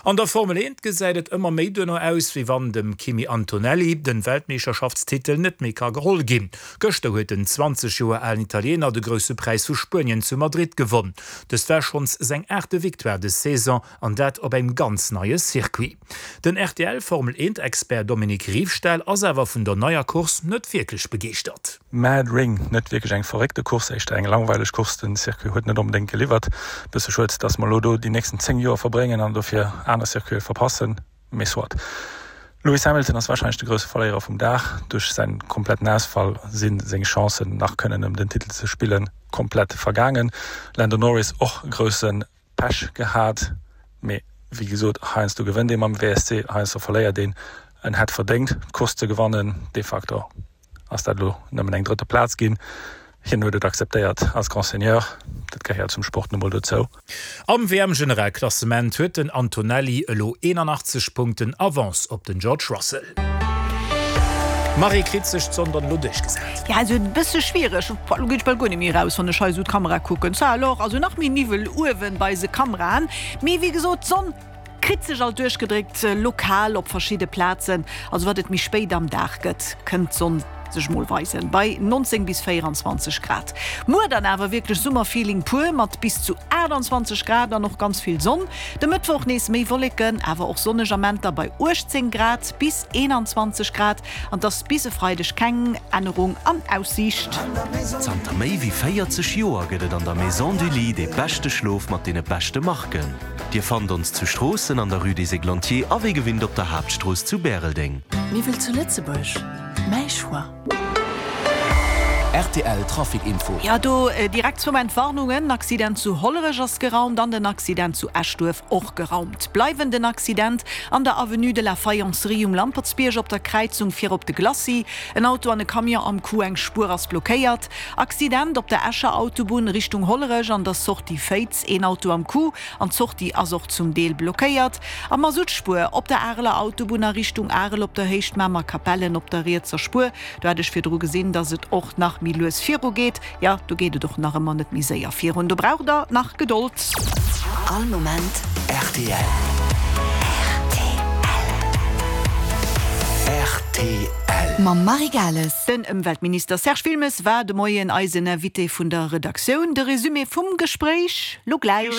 An der Formel 1 gesäit et ëmmer méi duerno aus, wéi wann dem Kimi Antonelli den Weltmeeschterschaftstitel net méi ka geholl ginn. Gëschter huet den 20 Joer alen Italiener de Grousse Präis vu Spuenien zu Madrid gewonn. Dëst war schonns seng aachte Victoire des Saison an dat op engem ganz neie Circuit. Den RTL Formel 1 Expert Dominique Riefstahl ass awer vun der neier Course net wierklech begeeschtert. Mad Ring, net wierklech eng verréckte Course, éischter eng langweileg Course. Den Circuit huet net onbedéngt geliwwert. Bësse schued, dass mer elo do déi nächsten 10 Joer verbréngen an dofir aner Circuite verpassen, mee soit. Lewis Hamilton ass warscheinlech de grousse Verléierer vum Dag. Duerch säin kompletten Ausfall si seng Chancen nach kënnen ëm den Titel ze spillen komplett vergaangen. Lando Norris och grousse Pech gehat, mee wéi gesot, heiansdo gewënnt ee mam WSC, heiansdo verléiert een. En hätt verdéngt d'Course ze gewannen, de facto ass dat elo nëmmen eng drëtte Plaz ginn. Hien huet et akzeptéiert als Grand Seigneur, dat gehéiert zum Sport nu mol dozou. Am WM-Generalklassement huet den Antonelli elo 81 Punkten Avance op den George Russell. Marie, kritt sech d'Sonn dann elo duerchgesat? Ja, also e bësse schwiereg. Lo ginn ech bal guer net méi eraus, wann ech hei esou d'Kamera kucken. Ça alors, also nach méi Niwwel uewen bei eise Kameraen. Mee wéi gesot, d'Sonn kritt sech alt duerchgedréckt, lokal op verschidde Plazen. Also wat et méi spéit am Dag gëtt, kënnt d'Sonn sech mol weisen, bei 19 bis 24 Grad. Muer dann awer wierklech Summerfeeling pur, mat bis zu 28 Grad an och ganz vill Sonn. De Mëttwoch nees méi Wolleken, awer och sonneg Amenter bei 18 Grad bis 21 Grad an 't ass bis e Freideg keng Ännerung an Aussiicht. Zanter méi wéi 40 Joer gëtt et an der Maison du Lit dee beschte Schlof mat deene beschte Marken. Dir fannt ons zu Stroossen an der Rue des Églantiers a wéi gewinnt op der Haaptstrooss zu Bäreldeng. Miwwel zu Lëtzebuerg, mäi Choix. Rtl Trafic Info. Jo, do direkt zwou Entwarnungen, Accident zu Hollerech ass geraumt an den Accident zu Eschduerf och geraumt. Bleiwen den Accident an der Avenue de la Faïencerie um Lampertsbierg op der Kräizung fir op de Glacis. En Auto an e Camion am Coup, eng Spuer ass blockéiert. Accident op der Escher Autobunn Richtung Hollerech an der Sortie Féiz, een Auto am Coup an d'Sortie ass och zum Deel blockéiert. A Masuttspuer op der Areler Autobunn a Richtung Arel op der Héicht Mamer-Kapellen op der rietser Spuer. Do hat ech virdru gesinn, dass et och nach méi lues viru geet. Jo, do geet et och nach ëmmer net méi séier virun. Do braucht der nach Gedold. All Moment rtl. Rtl. Mam Marie Gales. Den Ëmweltminister Serge Wilmes war de Moien eisen Invité vun der Redaktioun. De Resumé vum Gespréich lo gläich.